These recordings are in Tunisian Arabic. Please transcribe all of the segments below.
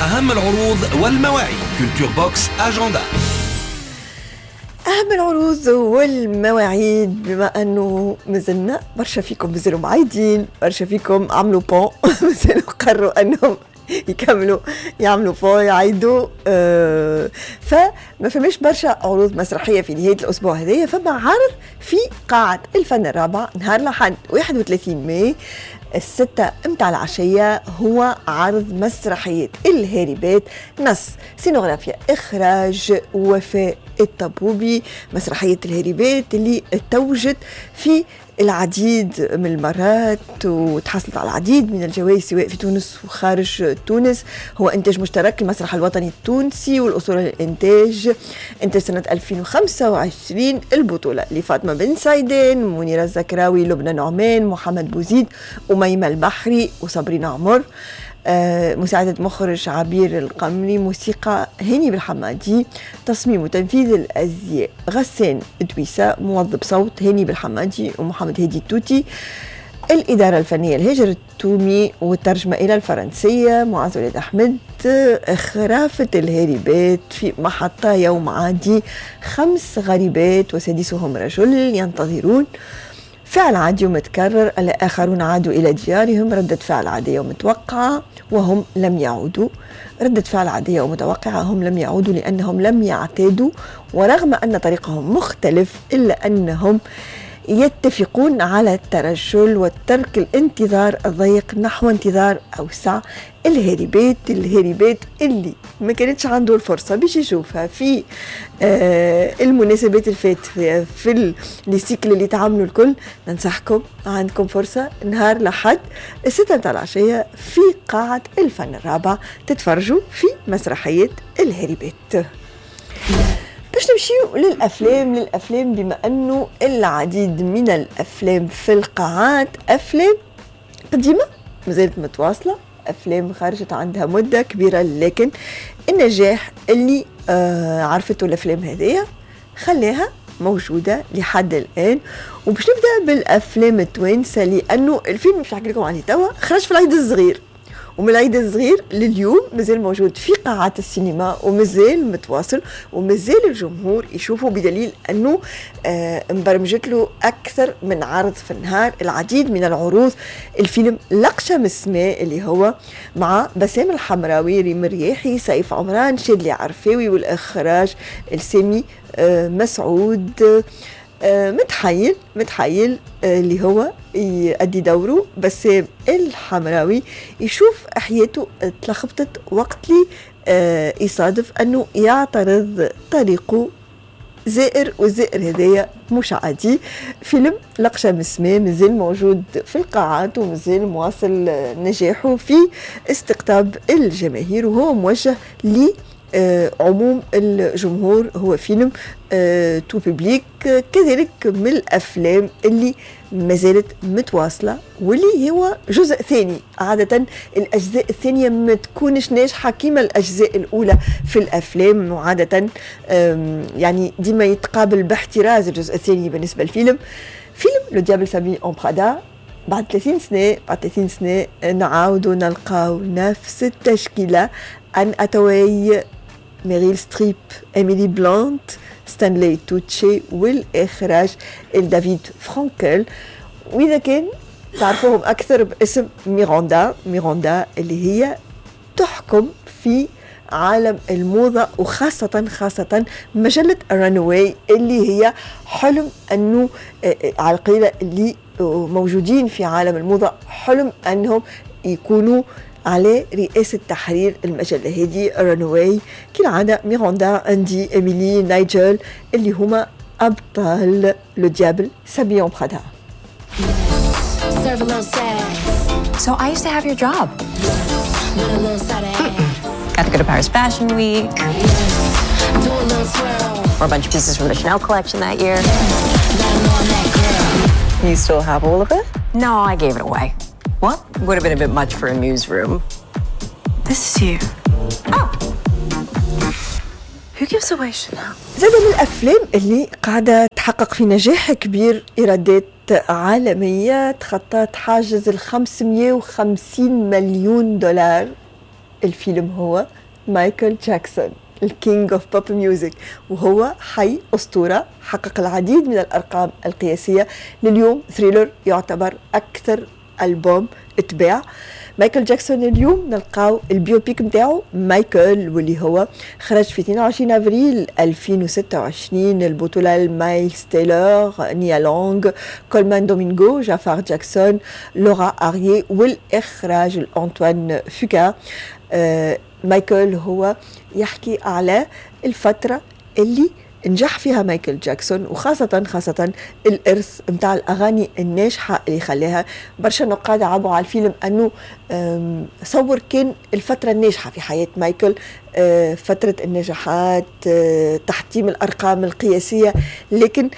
أهم العروض والمواعيد. Culture Box agenda. أهم العروض والمواعيد، بما أنه مازلنا برشا فيكم مازالوا معيدين، برشا فيكم عملوا pont، مازالوا قرروا أنهم يكملوا يعملوا pont يعيدوا، فما فماش برشا عروض مسرحية في نهاية الأسبوع هذايا. فما عرض في قاعة الفن الرابع نهار الأحد 31 ماي 6 متاع العشية، هو عرض مسرحية الهاربات، نص سينوغرافيا إخراج وفاء الطبوبي. مسرحية الهاربات اللي توجت في العديد من المرات وتحصلت على العديد من الجوائز سواء في تونس وخارج تونس. هو إنتاج مشترك المسرح الوطني التونسي والأصول الإنتاج، إنتاج سنة 2025. البطولة لفاطمة بن سعيدان، منيرة الزكراوي، لبنى نعمان، محمد بوزيد، أميمة البحري، وصابرين عمر. مساعدة مخرج عبير القمري، موسيقى هاني بالحمادي، تصميم وتنفيذ الأزياء غسان دويسة، موظف صوت هاني بالحمادي ومحمد هادي التوتي، الإدارة الفنية الهجر التومي، والترجمة إلى الفرنسية معاذ وليد أحمد. خرافة الهاربات في محطة يوم عادي، 5 غريبات وسادسهم رجل ينتظرون. فعل عادي ومتكرر، الآخرون عادوا إلى ديارهم، ردة فعل عادية ومتوقعة وهم لم يعودوا، ردة فعل عادية ومتوقعة هم لم يعودوا لأنهم لم يعتادوا، ورغم أن طريقهم مختلف إلا أنهم يتفقون على الترجل والترك الانتظار الضيق نحو انتظار أوسع. الهاربات، الهاربات اللي ما كانتش عنده الفرصة باش يشوفها في المناسبات الفات في les cycles اللي تعملوا الكل، ننصحكم عندكم فرصة نهار لحد 6 متاع العشية في قاعة الفن الرابع تتفرجوا في مسرحية الهاربات. باش نمشيو للأفلام، بما أنه العديد من الأفلام في القاعات أفلام قديمة مازالت متواصلة، أفلام خرجت عندها مدة كبيرة، لكن النجاح اللي عرفته الأفلام هذيا خلاها موجودة لحد الآن. وباش نبدأ بالأفلام التوانسة، لأنه الفيلم باش نحكي لكم عليه توا خرج في العيد الصغير، ومن العيد الصغير لليوم مازال موجود في قاعات السينما ومازال متواصل ومازال الجمهور يشوفه، بدليل أنه مبرمجت له أكثر من عرض في النهار، العديد من العروض. الفيلم لقشة من السماء اللي هو مع بسام الحمراوي، ريم الرياحي، سيف عمران، شادلي عرفاوي، والإخراج السامي مسعود. متحيل اللي هو يؤدي دوره بسام الحمراوي، يشوف حياته تلخبطت وقت لي يصادف أنه يعترض طريقه زائر، والزائر هذايا مش عادي. فيلم لقشة من السماء مازال موجود في القاعات ومازال مواصل نجاحه في استقطاب الجماهير، وهو موجه ل عموم الجمهور، هو فيلم tout public. كذلك من الأفلام اللي ما زالت متواصلة واللي هو جزء ثاني. عادة الأجزاء الثانية ما تكونش ناجحة كما الأجزاء الأولى في الأفلام، وعادة يعني ديما يتقابل باحتراز الجزء الثاني بالنسبة للفيلم. فيلم Le Diable s'habille en Prada بعد 30 سنة، بعد 30 سنة نعاودوا نلقاو نفس التشكيلة، أن أتواي، ميريل ستريب، إيميلي بلانت، ستانلي توتشي، والإخراج دافيد فرانكل. وإذا كان تعرفوهم أكثر باسم ميراندا، ميراندا اللي هي تحكم في عالم الموضة، وخاصة خاصة مجلة Runway اللي هي حلم أنه على القليلة اللي موجودين في عالم الموضة حلم أنهم يكونوا على رئاسة تحرير المجلة هذه Runway. كالعادة ميراندا، أندي، إيميلي، نايجل اللي هما أبطال Le Diable s'habille en Prada. So I used to have your job. Got to go to Paris Fashion Week. Wore a bunch of pieces from the Chanel collection that year. You still have all of it? No, I gave it away. What? Would have been a bit much for a newsroom. This is you. Oh. Who gives away Chanel? زاد من الأفلام اللي قاعدة تحقق في نجاح كبير، إيرادات عالمية تخطت حاجز ال 550 مليون دولار. الفيلم هو مايكل جاكسون ال king of pop music، وهو حي أسطورة حقق العديد من الأرقام القياسية. لليوم Thriller يعتبر أكثر ألبوم اتباع. مايكل جاكسون اليوم نلقاو ال biopic نتاعو مايكل، واللي هو خرج في 22 افريل 2026. البطولة مايلز تايلور، نيا لونغ، كولمان دومينغو، جافار جاكسون، لورا اريي، والاخراج انطوان فوكا. مايكل هو يحكي على الفترة اللي نجح فيها مايكل جاكسون، وخاصة خاصة الإرث متاع الأغاني الناجحة اللي خلاها. برشا نقاد عابوا على الفيلم أنه صور كان الفترة الناجحة في حياة مايكل، فترة النجاحات، تحطيم الأرقام القياسية، لكن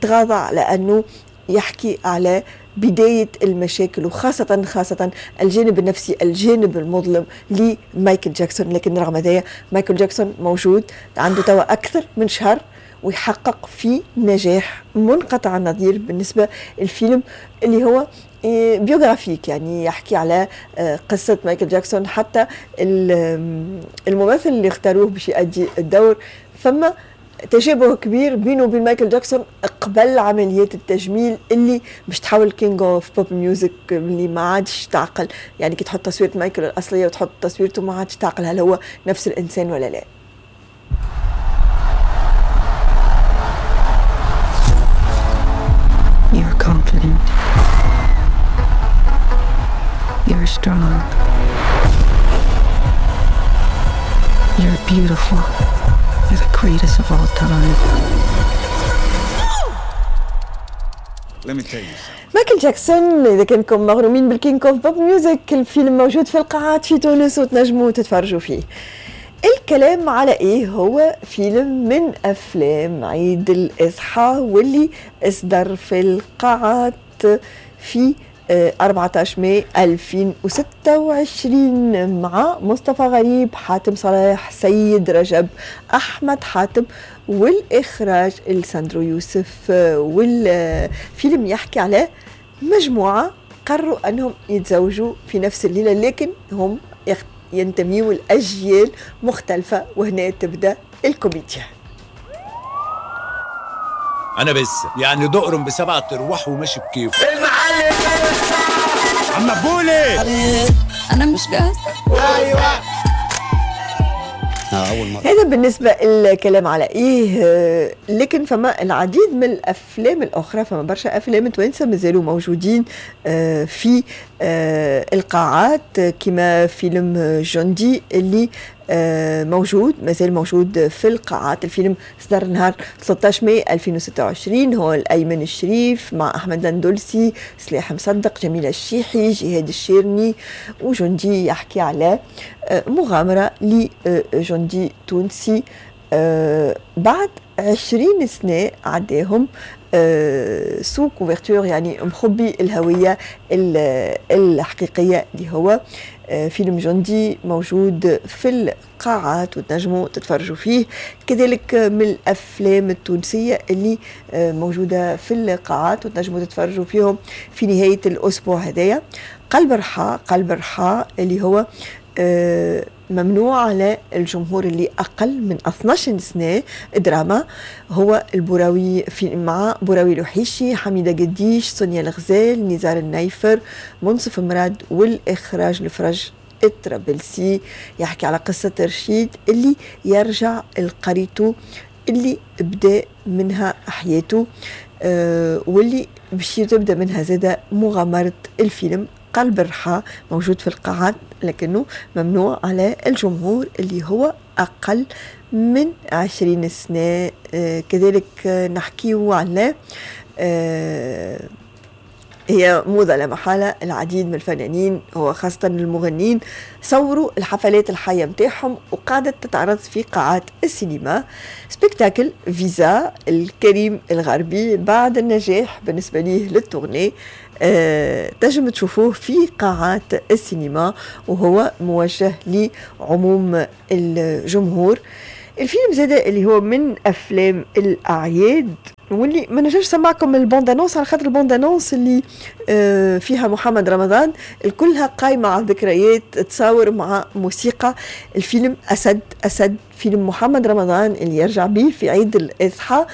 تغاضى على أنه يحكي على بداية المشاكل، وخاصة خاصة الجانب النفسي، الجانب المظلم لمايكل جاكسون. لكن رغم ذلك مايكل جاكسون موجود، عنده توا أكثر من شهر ويحقق في نجاح منقطع النظير بالنسبة للفيلم اللي هو biographique، يعني يحكي على قصة مايكل جاكسون. حتى الممثل اللي اختاروه باش يؤدي الدور فما تشابه كبير بينه وبين مايكل جاكسون قبل عمليات التجميل اللي باش تحول king of pop music اللي ما عادش تعقل، يعني كي تحط تصويره مايكل الاصلية وتحط تصويرته ما عادش تعقل هل هو نفس الانسان ولا لا. You're confident. You're strong. You're beautiful. You're the greatest of all time. Let me tell you something. مايكل جاكسون، اذا كانكم مغرومين بال king of pop music، الفيلم موجود في القاعات في تونس وتنجموا تتفرجوا فيه. الكلام على ايه؟ هو فيلم من افلام عيد الاضحى واللي اصدر في القاعات في 14 ماي 2026 مع مصطفى غريب، حاتم صلاح، سيد رجب، أحمد حاتم، والإخراج الساندرو يوسف. والفيلم يحكي على مجموعة قرروا أنهم يتزوجوا في نفس الليلة، لكن هم ينتميوا لأجيال مختلفة، وهنا تبدأ الكوميديا. انا بس يعني دقرم بسبعة ارواح وماشي بكيفه. المعلم عم بولي، أنا مش جاهزة. اول مرة. هذا بالنسبة الكلام على إيه. لكن فما العديد من الأفلام الأخرى، فما برشا أفلام توانسة مازالوا موجودين في القاعات، كما فيلم جندي اللي موجود، مازال موجود في القاعات. الفيلم صدر نهار 13 ماي 2026، هو الأيمن الشريف مع أحمد الأندلسي، سلاح مصدق، جميلة الشيحي، جهاد الشيرني. وجندي يحكي على مغامرة لجندي تونسي بعد 20 سنة عداهم sous couverture، يعني مخبي الهوية الحقيقية اللي هو. فيلم جندي موجود في القاعات وتنجموا تتفرجوا فيه. كذلك من الأفلام التونسية اللي موجودة في القاعات وتنجموا تتفرجوا فيهم في نهاية الأسبوع هذايا، قلب رحى. قلب رحى اللي هو ممنوع على الجمهور اللي أقل من 12 سنة، دراما، هو البراوي في مع براوي لوحيشي، حميدة قديش، سونيا الغزال، نزار النيفر، منصف مراد، والإخراج الفرج الطرابلسي. يحكي على قصة رشيد اللي يرجع لقريته اللي بدا منها حياته، واللي باش تبدا منها زادة مغامرة الفيلم. قلب الرحى موجود في القاعات لكنه ممنوع على الجمهور اللي هو أقل من 20 سنة. كذلك نحكيه على هي موضة لا محالة، العديد من الفنانين وخاصة المغنين صوروا الحفلات الحية متاعهم وقعدت تتعرض في قاعات السينما. spectacle فيزا الكريم الغربي بعد النجاح بالنسبة ليه لل tournée، تنجم تشوفوه في قاعات السينما وهو موجه لعموم الجمهور. الفيلم زاد اللي هو من أفلام الأعياد واللي ما نجمش نسمعكم ال bande-annonce على خاطر ال bande-annonce اللي فيها محمد رمضان الكلها قايمة على الذكريات، تصاور مع موسيقى. الفيلم أسد أسد، فيلم محمد رمضان اللي يرجع به في عيد الإضحى.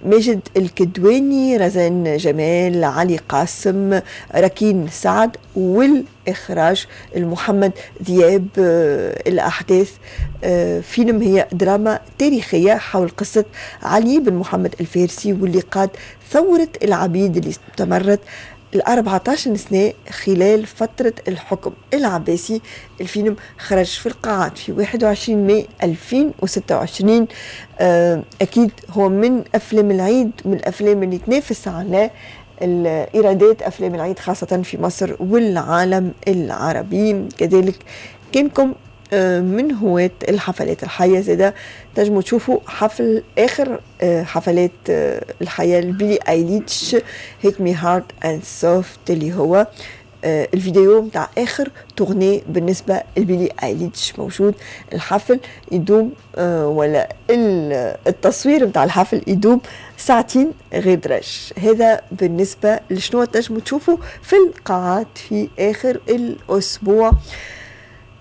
ماجد الكدواني، رزان جمال، علي قاسم، ركين سعد، والإخراج المحمد ذياب. الأحداث فيلم هي دراما تاريخية حول قصة علي بن محمد الفارسي واللي قاد ثورة العبيد اللي استمرت ال 14 سنة خلال فترة الحكم العباسي. الفيلم خرج في القاعات في 21 ماي 2026. أكيد هو من أفلام العيد، من الأفلام اللي تنافس على الإيرادات أفلام العيد خاصة في مصر والعالم العربي. كذلك كانكم من هواة الحفلات الحية زادة تنجموا تشوفوا حفل آخر حفلات الحياة لبيلي ايليتش، Hit Me Hard and Soft، اللي هو الفيديو متاع اخر tournée بالنسبة لبيلي ايليتش. موجود الحفل يدوم ولا التصوير متاع الحفل يدوم ساعتين غير درج. هذا بالنسبة لشنو تنجموا تشوفوا في القاعات في اخر الاسبوع.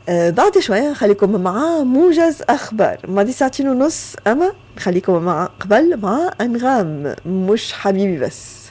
بعد شوية نخليكم مع موجز أخبار ماضي ساعتين ونص، أما نخليكم مع قبل مع أنغام، مش حبيبي بس.